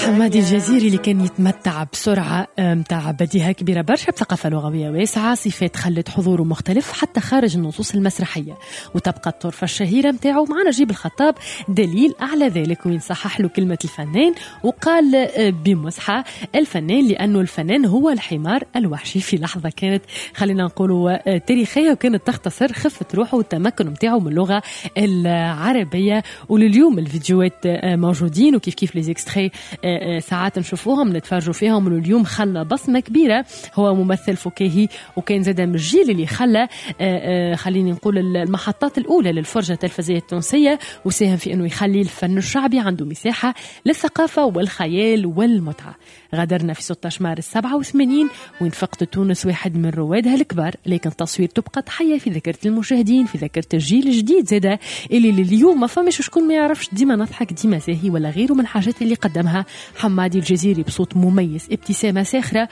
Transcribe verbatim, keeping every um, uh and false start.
حمادي الجزيري اللي كان يتمتع بسرعة متاع بديهة كبيرة برشا، بثقافة لغوية واسعة، صفات خلت حضوره مختلف حتى خارج النصوص المسرحية. وتبقى الطرفة الشهيرة متاعه مع نجيب الخطاب دليل على ذلك، وين صحح له كلمة الفنان وقال بمزحة الفنان، لأنه الفنان هو الحمار الوحشي. في لحظة كانت خلينا نقولوا تاريخية، وكانت تختصر خفة روحه والتمكن متاعه من اللغة العربية. ولليوم الفيديوهات موجودين، وكيف كيف les extraits ساعات نشوفوهم نتفرجوا فيهم. واليوم خلى بصمة كبيرة، هو ممثل فكاهي وكان زاد من الجيل اللي خلى خليني نقول المحطات الأولى للفرجة التلفزية التونسية، وساهم في أنه يخلي الفن الشعبي عنده مساحة للثقافة والخيال والمتعة. غادرنا في ستة عشر مارس سبعة وثمانين، وين فقدت تونس واحد من روادها الكبار، لكن تصوير تبقى تحية في ذاكرة المشاهدين، في ذاكرة الجيل الجديد زاده اللي لليوم ما فماش شكون ما يعرفش ديما نضحك ديما زاهي ولا غيره من الحاجات اللي قدمها حمادي الجزيري بصوت مميز، ابتسامة ساخرة.